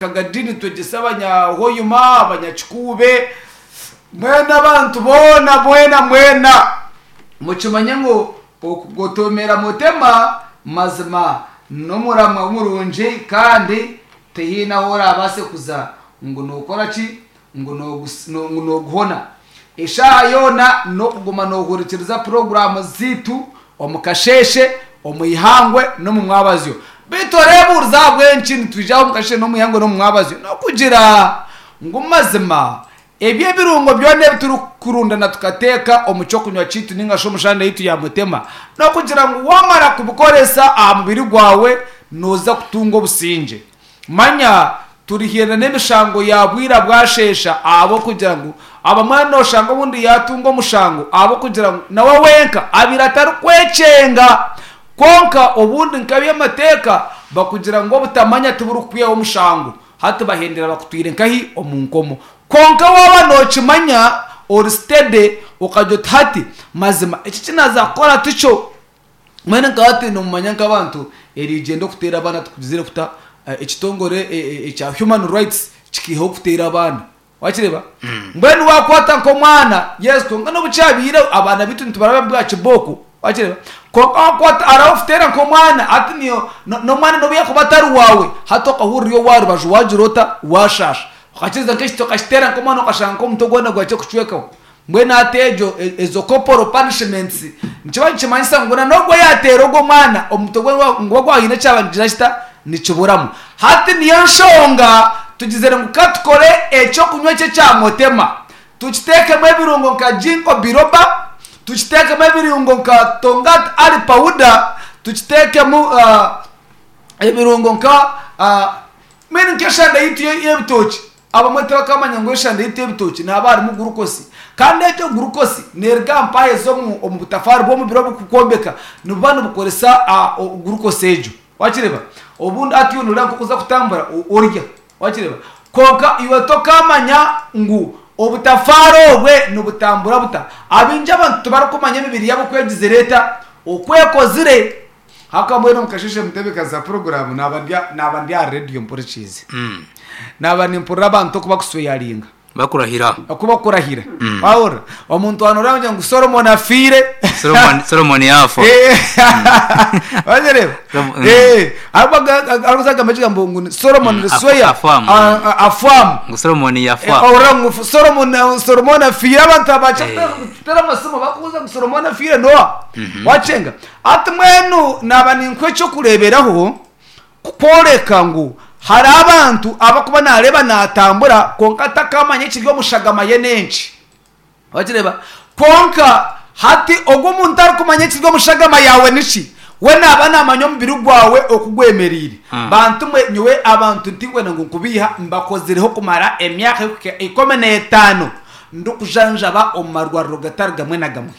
Kagadi nitwegyesa abanyahoima, abanyakikuube, mbwenu abantu boona mwena mwena mukimanye ngu okugotomera Mutema mazima n'omuramwa murungi kandi tihaine ahu orabaase kuza ngu nokora ki ngu noguhona. Eshaaha yoona n'okuguma noohurikiriza puroguraamu zaitu omu kasheeshe, omu ihangwe n'omu mwabazyo. Beitu oreebuurize ahabw'enki nitwija aha omu kasheeshe n'omu ihangwe n'omu mwabazyo? N'okugira ngu mazima ebyo ebirungo byona ebi turikurundana tukateeka omu ky'okunywa kyaitu nainga shi omu shande yaitu ya Mutema, n'okugira ngu waamara kubikoresa aha mubiri gwawe nooza kutunga obusingye. Manya turihiirana n'emishango ya bwira bwasheesha ahabw'okugira ngu abamwe nooshanga obundi yaatunga omushango ahabw'okugira ngu nawe wenka abaire atarikwekyenga. Kwonka obundi nk'eby'amateeka bakugira ngu obutamanya tiburikukwihaho omushango. Hati bahendera bakutwire nkahi? Omu nkomo. Kwonka waaba nookimanya ori steady okagira oti hati mazima eki eki naaza kukora tikyo. Mbwenu nkaba hati nomumanya nk'abantu erigyenda okuteera abaana tukugizire kuta ekitongore ekya human rights kikiihaho okuteera abaana wakireeba mbwenu wakwata nk'omwana yes kwonka n'obu kyabaire abaana baitu nitubaraba bwa kibooko wakireeba kwonka wakwata hariho okuteera nk'omwana hati niyo n'omwana n'obu yakuba atari waawe hati okahurira ori owa rubaju wagira ota washaasha okakiriza nk'ekiti okakiteera nk'omwana okashanga nk'omutwe gwona gwakye kucwekaho. Mbwenu hati egyo ezo corporal punishments nikiba nikimanyisa ngu n'ogwo yaateera ogwo mwana omutwe gwe niguba gwahaine ekyaba nikigira kita nikiburamu. Hati niyo nshonga tugizire ngu ka tukore eky'okunywa eki ekya Motema tukiteekemu ebirungo nka Ginkgo biloba, tukiteekemu ebirungo nka Tongat Ali powder, tukiteekemu ebirungo nka mbwenu nk'eshande yaitu y'ebitookye. Abamwe tibakamanya ngu eshande yaitu y'ebitookye nihaba harimu gurukosi. Kandi egyo gurukosi neeruga aha mpaha ez'omu omu butafaari bw'omubiri oburikukwombeka nibuba nibukoresa gurukosi egyo. Waakireeba? Obundi hati iwe nooreeba nk'oku oza kutambura orya. Waakireeba? Kwonka iwe tokaamanya ngu obutafaari obwe nibutambura buta. Abaingi abantu tibarikumanya emibiri yaabo oku egizire eta, oku ekozire. Haka mbwenu omu kasheeshe mutebeekanisa puroguraamu naaba ndi naaba ndi aha rediyo mpurikiize. Naaba nimpurira abantu oku bakusweyaringa. Bakurahira. Oku bakurahira. Wahurira? Omuntu waaba nooreeba ngu Solomon afiire. Solomon, Solomon yaafa. Wagireeba? Arikuza kugamba ekigambo ngu Solomon Lusweya Afwamu. afwamu. Ngu Solomon yafa. Ohurira ngu Solomon Solomon afiire abantu abakye kutera amasimu bakubuuza ngu Solomon afiire noha? Wakyenga? Hati mbwenu naaba ninkuha eky'okureeberaho kukworeka ngu hariho abantu abarikuba naareeba naatambura kwonka atakamanya ekiri omu shagama ye n'enki. Wakireeba? Kwonka hati ogwo omuntu arikumanya ekiri omu shagama yaawe niki, we naaba naamanya omubiri gwawe oku gwemereire. Bantu mwe, nyowe abantu tinkwenda ngu nkubeiha, mbakozireho kumara emyaka erikuhika 15 ndikujanjaba omu marwariro gatari gamwe na gamwe.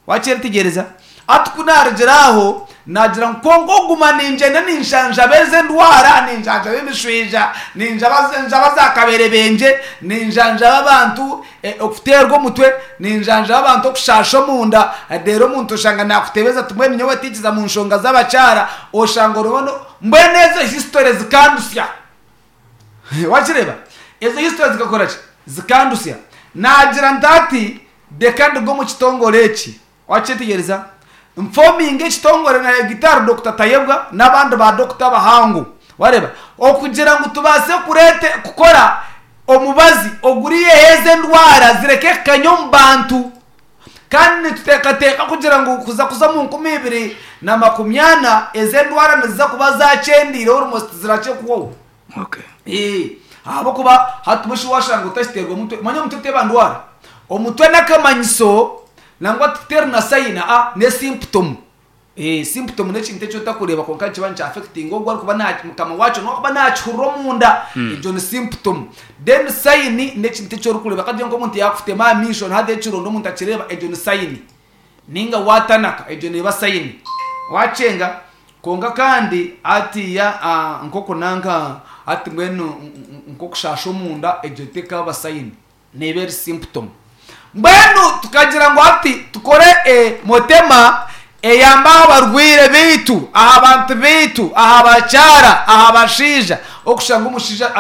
Wakyetegyereza? Hati ku naarugire aho, naagira ngu kwonka okuguma ningyenda ninshanjaba ezi endwara, ninjanjaba emishwija, ninjanjaba za kaberebengye, ninjanjaba abantu okuteerwa omutwe, ninjanjaba abantu okushaasha omunda, reero omuntu oshanga naakutebeza ati mbwenu nyowe tinkiza mu nshonga z'abakyara, oshanga oriho no, mbwenu ezo history zikandusya. Wakireeba? Ezo history zikakora ki? Zikandusya. Naagira nti hati Reka nduge omu kitongore eki. Wakyetegyereza? Nfominge ekitongore na Gitari Dokita Tayebwa n'abandi ba dokita abahangu. Wareeba? Okugira ngu tubaase kureeta kukora omubazi oguriiheho ezi endwara zireke kukanya omu bantu. Kandi nituteekateeka kugira ngu kuza kuza omu 2040 ezi endwara niziza kuba zaakyendeire almost zirakye kuhwaho. Okay. Ee, ahabw'okuba hati mbwenu shi waashanga otakiteerwa mutwe, manya omutwe teeba ndwara. Omutwe n'akamanyiso nangwa teri na sayini aa n'esimptomu. Ee, symptom n'ekintu eki otakureeba kwonka nikiba nikyaffectinga ogwo arikuba na mukama waakyo n'owu arikuba naakihurira omunda, egyo ni symptom. Then sayini n'ekintu eki orikureeba kagire nk'omuntu yaakutema aha maisho haazaho ekironda omuntu akireeba egyo ni sayini. Nainga waatanaka, egyo neeba sayini. Waakyenga? Kwonka kandi hatiiya nk'oku nanka hati mbwenu nk'okushaasha omunda, egyo tekaaba sayini, neeba eri symptom. Mbwenu tukagira ngu hati tukore motema eyambe aha barwaire baitu, aha bantu baitu, aha bakyara, aha bashaija. Okushanga omushaija.